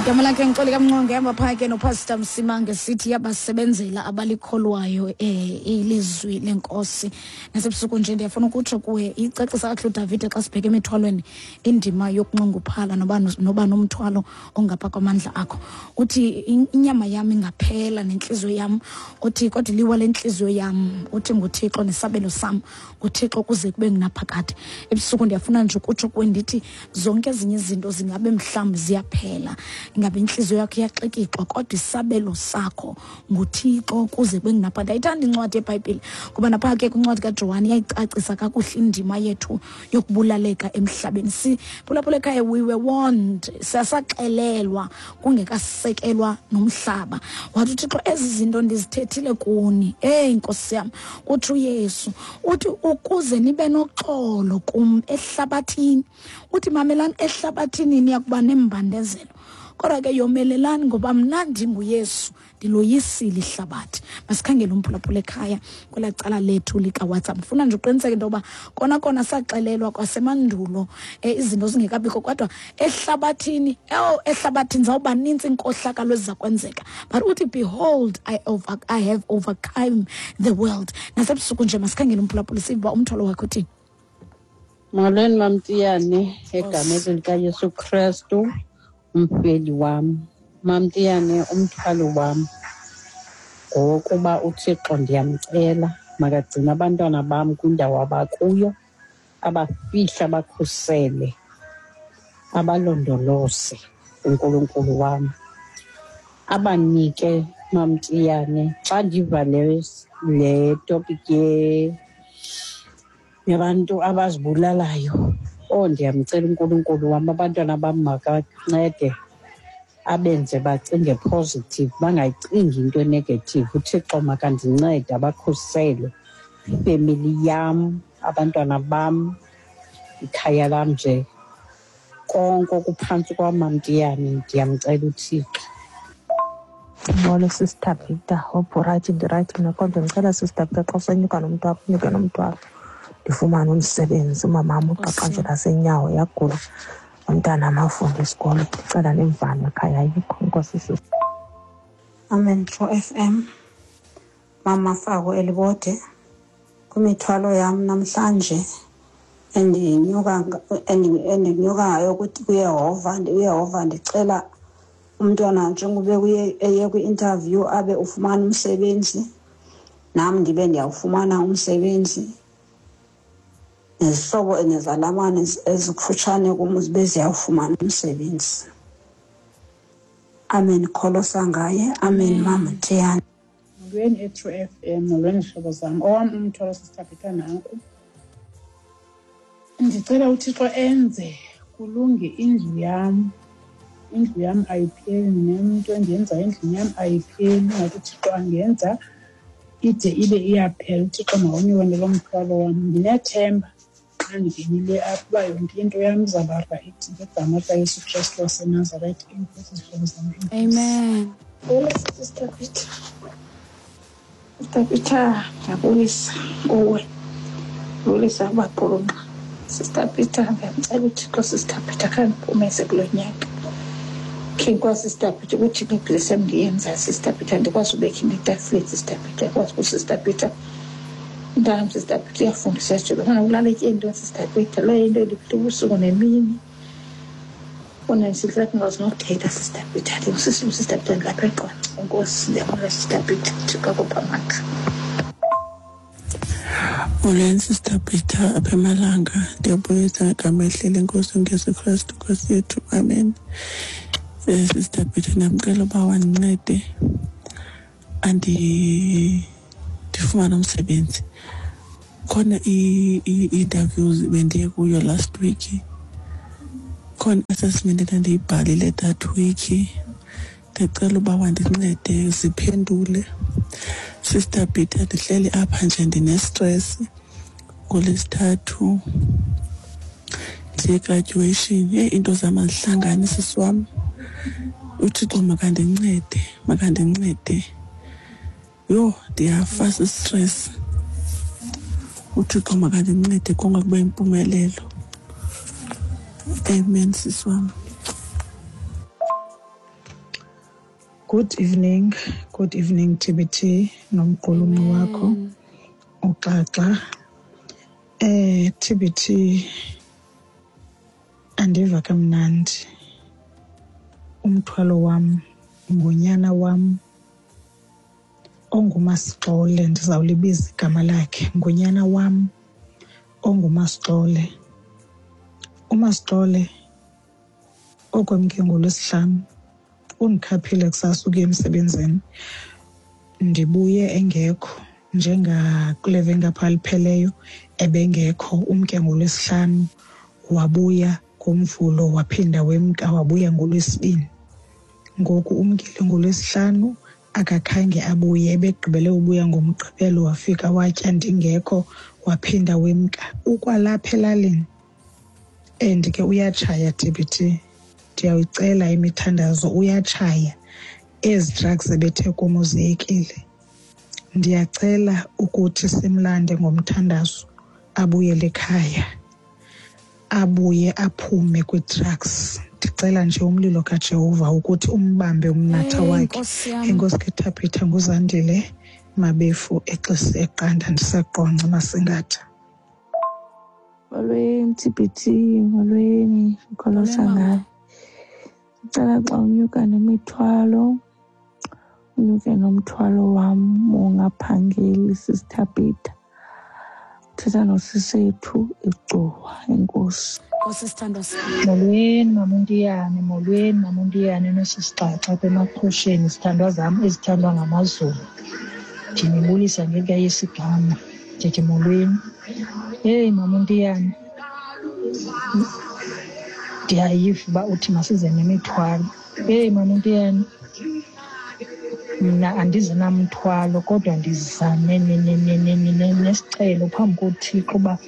Igama lakhe ngixoli kamnqonge hamba phaa ke nopastor Msimange sithi yabasebenzela abalikholwayo ilizwi lenkosi. Nasebusuku nje ndiyafuna ukutsho kuwe icacisa kakuhle uDavide xa sibheke emithwalweni indima yokunxunguphala noba nomthwalo ongapha kwamandla akho. Uthi inyama yam ingaphela nentliziyo yam, uthi kodwa iliwa lentliziyo yam, uthi nguThixo nesabelo sam, nguThixo kuze kube ngunaphakade. Ebusuku ndiyafuna nje ukutsho kuwe ndithi zonke ezinye izinto zingabe mhlawumbi ziyaphela, ingabe intliziyo yakho iyaxikixwa, kodwa isabelo sakho nguThixo kuze kube ngunaphakade. Ndiyayithanda incwadi yeBhayibhile ngoba napha ke kwincwadi kaJohane iyayicacisa kakuhle indima yethu yokubulaleka emhlabeni. Siphulaphula ekhaya, we were warned, sasaxelelwa kungekasekelwa nomhlaba. Wathi uThixo, ezi zinto ndizithethile kuni. Eyi Nkosi yam, uthi uYesu, uthi ukuze nibe noxolo kum ehlabathini. Uthi mamelani, ehlabathini niyakuba nembandezelo, kodwa ke yomelelani ngoba mna ndinguYesu, ndiloyisile ihlabathi. Masikhangele umphulaphula ekhaya kwelaa cala lethu likaWhatsApp. Ndifuna nje uqiniseke into yoba kona kona saxelelwa kwasemandulo izinto zingekabikho, kodwa ehlabathini, ehlabathini zawuba nintsi inkohlakalo eziza kwenzeka. But uthi behold, I have overcome the world. Nasebusuku nje masikhangele umphulaphula sive uba umthwalo wakhe uthini. Molweni Mamtiyane, egameni likaYesu Krestu umfeli wam. Mamtiyane, umthwalo wam ngowokuba uThixo ndiyamcela makagcine abantwana bam kwindawo abakuyo, abafihle, abakhusele, abalondoloze uNkulunkulu wam. Abanike Mamtiyane, xa ndiva le topic yabantu abazibulalayo, ndiyamcela uNkulunkulu wam, abantwana bam makancede abenze bacinge positive, bangayicingi into negative. uThixo makandincede abakhusele ifemeli yam, abantwana bam, ikhaya lam nje, konke okuphantsi kwam Mamtiyane, ndiyamcela uThixo. Molo Sister Peter, hope uright, ndirayithi mna, kodwa ndicela Sister Peter xa usenyuka nomntu wakho, unyuke nomntu wakho ndifumane umsebenzi. Umamam uqaqanjwe nasenyawo yagula, umntana amafunde isikolo, ndicela nemvano ekhaya ayikho. Enkosi sisi. Amen True FM. Mama Fako Elibode, kwimithwalo yam namhlanje endinyuka ngayo kuYehova, uYehova ndicela umntwana njengoba eye kwi-interview abe ufumana umsebenzi, nam ndibe ndiyawufumana umsebenzi, nezihlobo nezalamane ezikufutshane kum zibe ziyawufumana umsebenzi. Amen, kholosa ngaye. Amen, Mama Tiyane. Molweni e-True FM, molweni zihlobo zam. Owam umthwalo Sister Peter nanku. Ndicela uThixo enze kulunge indlu yam. Indlu yam ayipheli, nento endiyenzayo endlini yam ayipheli. Ingathi uThixo angenza ide ibe iyaphela. uThixo mawunyuke nalo mthwalo wam. Ndinethemba xa ndingenile apha uba yonke into yam izawuba rayithi ngegama likaYesu Krestu waseNazaretha. Enkosi zihlobo zam. Amen. Hello, Sister Peter. Sister Peter, ndiyabulisa kuwe. Ndibulisa kubaqulunqa. Sister Peter, ndiyamcela uThixo, Sister Peter, khandiphumeze kulo nyaka. Khe ndikwazi, Sister Peter, ukuthi ibhizinesi yam ndiyenza, Sister Peter, ndikwazi ubeka into etafileni, Sister Peter, ndikwazi ukuthi, Sister Peter, umntanam, Sister Peter, uyafundisa nje, bafana kulala etyeni, Sister Peter, leyo into endiphethe ubusuku nemini. Bona sihlala ndingakwazi nokuthetha, Sister Peter. Ndingusisi, Sister Peter, ndilapha eQonce. Enkosi, ndiyabona, Sister Peter, Thixo akuphe amandla. Molweni Sister Peter, apha emalanga. Ndiyabulisa ngegama elihle lenkosi uYesu Kristu Nkosi yethu. Amen. Sister Peter, ndiyamcela uba wandincede ndifumane umsebenzi. Khona i-interviews bendiye kuyo last week. Khona assessment endandiyibhalile that week. Ndicela uba wandincede ziphendule. Sister Peter, ndihleli apha nje ndine-stress. NgoLwesithathu ndiye graduation. Yeyi, into zam azihlangani sisi wam. uThixo makandincede, makandincede. Yho, ndiyafa sistress. uThixo makandincede konke kube yimpumelelo. Amen sisi wam. Good evening, good evening TBT nomqulunqi wakho uXaxa. TBT, andiva kamnandi. Umthwalo wam ngunyana wam onguMasixole, ndizawulibiza igama lakhe, ngunyana wam onguMasixole. UMasixole okwemke ngoLwesihlanu undikhaphile kusasa ukuya emsebenzini, ndibuye engekho. Njengakule veki ngapha lipheleyo ebengekho, umke ngoLwesihlanu wabuya ngoMvulo, waphinda wemka wabuya ngoLwesibini. Ngoku umkile ngoLwesihlanu akakhange abuye, ebegqibele ubuya ngoMgqibelo, wafika watya ndingekho, waphinda wemka. Ukwalapha elalini and ke uyatshaya TBT, ndiyayicela imithandazo, uyatshaya. Ezi drugs ebethe kum uziyekile. Ndiyacela ukuthi simlande ngomthandazo abuyele ekhaya, abuye aphume kwi-drugs. Ndicela nje umlilo kaJehova ukuthi umbambe umnatha wakhe. Nkosi yam. Enkosi ke Thabitha, nguZandile Mabefu eXesi eQanda, ndiseQonce Masingatha. Molweni TBT, molweni Nkolosa. Molweni, mama. Ngayo ndicela xa unyuka nemithwalo, unyuke nomthwalo wam wongaphangeli, Sister Peter. Thetha nosisethu eGcuwa. Enkosi. Nkosi sithandwa sam. Molweni maMontiyane, molweni maMontiyane nosisixaxa apha emaxhosheni, zithandwa zam ezithandwa ngamaZulu. Ndinibulisa ngelikaYesu igama, ndithi molweni. Heyi maMontiyane, ndiyayiva uba uthi masize nemithwalo. Heyi maMontiyane, mna andizi namthwalo kodwa ndiza nesicelo phambi koThixo uba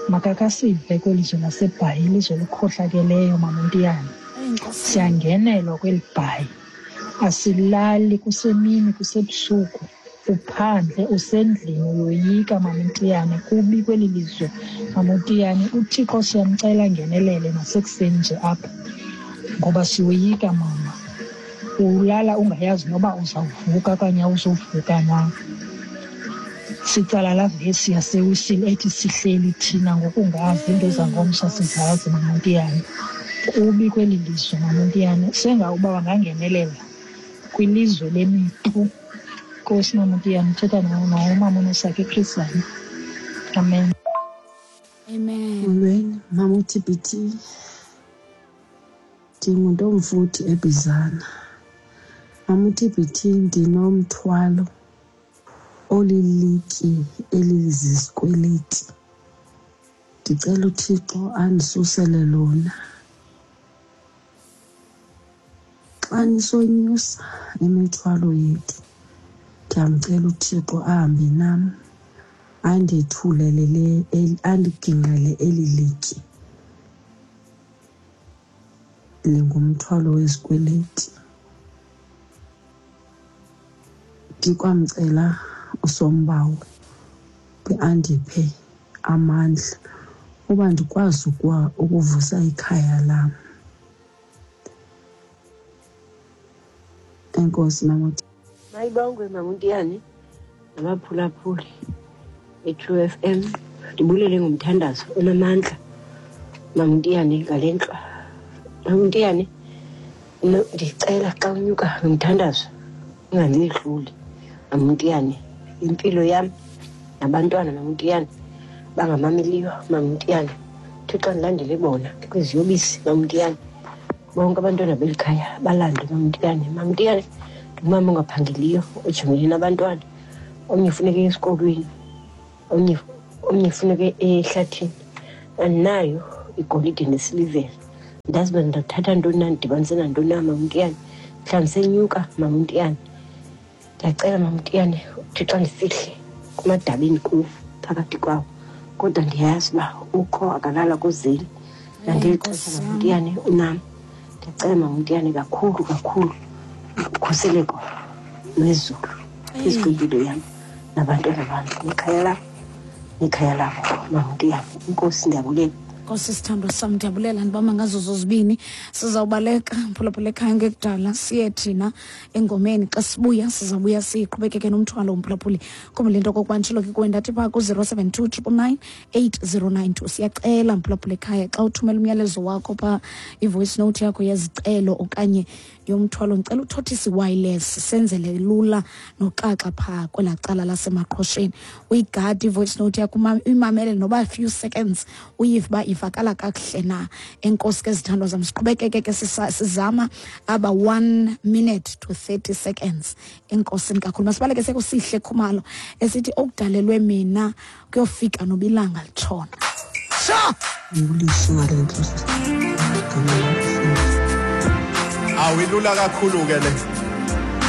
makakasive kweli lizwe laseBhayi, ilizwe elikhohlakeleyo maMontiyane. Eyi Nkosi yam. Siyangenelwa kweli Bhayi, asilali, kusemini kusebusuku, uphandle usendlini uyoyika maMontiyane, kubi kweli lizwe maMontiyane. UThixo siyamcela angenelele nasekuseni nje apha ngoba siyoyika mama. Ulala ungayazi noba uzawuvuka okanye awuzuvuka na. Sitsala laa vesi yaseWisile ethi sihleli thina ngokungazi iinto zangomso sizazi maMontiyane. Kubi kweli lizwe maMontiyane, senga uba bangangenelela kwilizwe lemipu. Nkosi maMontiyane, uthetha nomama uNosakhe eChris Hani. Amen. Amen. Molweni, mama uTBT. Ndinguntomfuthi eBizana. Mama uTBT, ndinomthwalo olilitye elizizikweleti. Ndicela uThixo andisusele lona. Xa nisonyusa imithwalo yethu, ndiyamcela uThixo ahambe nam, andethulele le, andigingqele eli litye lingumthwalo wezikweleti. Ndikwamcela uSombawo andiphe amandla uba ndikwazi ukuvusa ikhaya lam. Enkosi mama. Mayibongwe maMontiyane nabaphulaphuli be-True FM. Ndibulele ngomthandazo onamandla maMontiyane ngale ntlwa. MaMontiyane, ndicela xa unyuka ngomthandazo ungandihluli maMontiyane. Impilo yam nabantwana maMontiyane bangamameliyo maMontiyane. Thixo andilandele bona kwiziyobisi maMontiyane. Bonke abantwana beli khaya balandwe maMontiyane. MaMontiyane ndingumama ongaphangeliyo ojongene nabantwana. Omnye funeke esikolweni, omnye funeke ehlathini. Andinayo igolide nesilivere. Ndazi uba ndingathatha ntoni na, ndidibanise nantoni na maMontiyane. Mhlawumbi senyuka maMontiyane. Ndiyacela maMontiyane uThixo andifihle kumadabini kuwo phakathi kwawo. Kodwa ndiyayazi uba ukho akalala kuzeli. Nangeli xesha maMontiyane unam. Ndiyacela maMontiyane kakhulu kakhulu ukhuseleko lwezulu phezu kwempilo yam nabantwana bam, nekhaya lam nekhaya labo maMontiyane. Inkosi, ndiyabulela. Nkosi sithandwa sam, ndiyabulela, ndibamba ngazo zozibini. Sizawubaleka, mphulaphula ekhaya, ngekudala siye thina engomeni. Xa sibuya sizawubuya siqhubekeke nomthwalo, umphulaphuli. Khumbula into okokuba nditshilo ke kuwe ndathi phaa ku-072 999 8092. Siyacela, mphulaphula ekhaya, xa uthumela umyalezo wakho phaa, i-voice note yakho yezicelo okanye yomthwalo, ndicela uthothise i-wireless, senzele lula noxaxa phaa kwelaa cala lasemaqhosheni. Uyigade i-voice note yakho, uyimamele noba few seconds, uyive uba ivakala kakuhle na. Enkosi ke, zithandwa zam. Siqhubekeke ke sizama aba 1 minute to 30 seconds. Enkosini kakhulu. Masibaleke sekusihle Khumalo esithi okudalelwe mina kuyofika noba ilanga litshona. Sha! Ndibulise ngale ntlo, gama. Awilula kakhulu ke le.